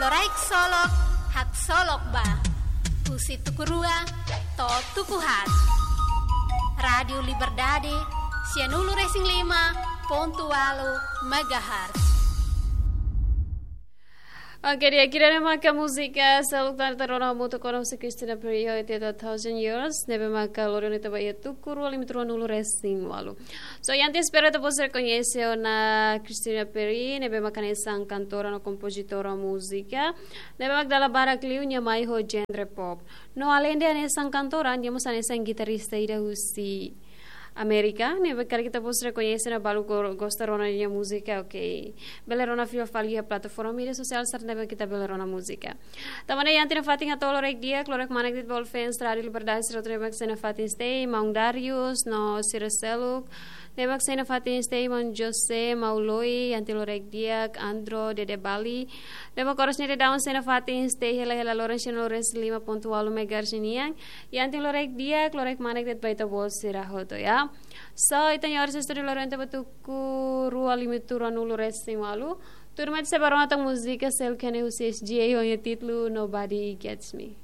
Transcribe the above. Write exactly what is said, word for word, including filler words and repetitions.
Loraik Solok, Haksolok Ba. Husi tuku rua to'o tuku haat. Rádiu Liberdade, sianulu-resin-lima pontu ualu megahertz. Oke, di'ak, ida-ne'e maka múzika seluk tan ita rona hamutuk ona husi Christina Perri, It Take a Thousand Years, ne'ebé maka lori ona ita ba iha tuku rua limitu ruanulu-resin-ualu. So, iha ita espera ita-boot sira koñese ona Christina Perri, ne'ebé maka hanesan kantora no kompozitora múzika, ne'ebé maka dala barak liu nia mai ho genre pop. No aleinde hanesan kantora, nia mós hanesan gitarrista ida husi Amérika, ne'ebé karik ita-boot sira koñese no balu go-, gosta rona nia múzika, oke. Bele rona fila fali iha plataforma média sosiál sira ne'ebé ita bele rona múzika. Tanba ne'e iha ita-nia fatin hato'o loraik di'ak, loraik manek de'it ba fans Rádiu Liberdade sira hotu ne'ebé mak sei iha ita-nia fatin, maun Darius, no sira seluk ne'ebé mak sei iha ita-nia fatin, maun José, maun Loi, iha ita loraik di'ak, Andro, Dede Bali, ne'ebé mak oras ne'e daudaun sei iha ita-nia fatin, hela-hela loron sianulu-resin-lima pontu ualu megahertz nian, iha ita loraik di'ak, loraik manek de'it ba ita-boot sira hotu, ya. So, ita-nia oras estúdiu loron ita ba tuku rua limitu ruanulu-resin-ualu. Tuirmai ita sei ba rona tan múzika seluk ne'e husi S G A ho nia títulu Nobody Gets Me.